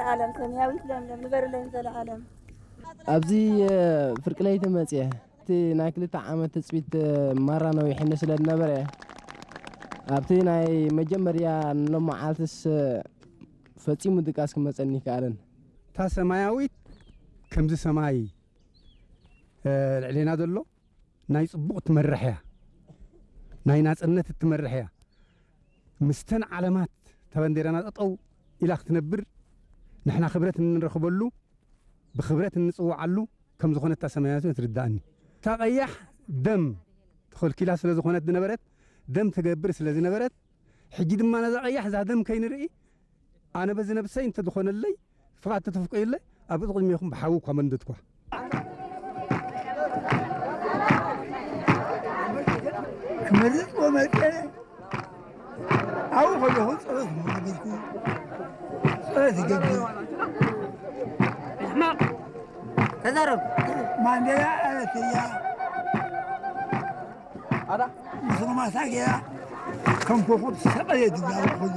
ዓለም ሰማያዊት ለምለም ንበርለይ ዘለዓለም። ኣብዚ ፍርቂ ለይቲ መፅየ እቲ ናይ ክልተ ዓመት ትፅቢት ማራ ነዊሕኒ ስለ ዝነበረ ኣብቲ ናይ መጀመርያ ንሎመዓልትስ ፈፂሙ ድቃስ ክመፀኒ ይከኣልን። እታ ሰማያዊት ከምዚ ሰማይ ልዕሌና ዘሎ ናይ ፅቡቕ ትመርሕ እያ። ናይ ናፅነት እትመርሕ እያ። ምስተን ዓለማት እታ ባንዴራና ጠጠው ኢላ ክትነብር፣ ንሕና ክብረት እንረኽበሉ፣ ብክብረት እንፅውዓሉ ከም ዝኾነ እታ ሰማያዊት ትርዳእኒ። እታ ቀያሕ ደም ተኸልኪላ ስለ ዝኾነት ዝነበረት፣ ደም ተገብር ስለ ዝነበረት፣ ሕጂ ድማ ነዛ ቀያሕ እዛ ደም ከይንርኢ ኣነ በዚ ነብሰይ እንተዝኾነለይ ፍቓድ ተተፍቀዩለይ ኣብ ቅድሚኹም ብሓዊ እኳ መንደድኳ። ክመርጽ ወመጸ ኣብኡ ከለኹ ጸሎት መገበርኩ። ጸሎት ይገብር። ሕማቕ ተዛረብ። ማንዴላ ኣረትያ ምስማሳ ገያ ከም ኮኾብ ሰቐየ ድጋሩ ኩሉ።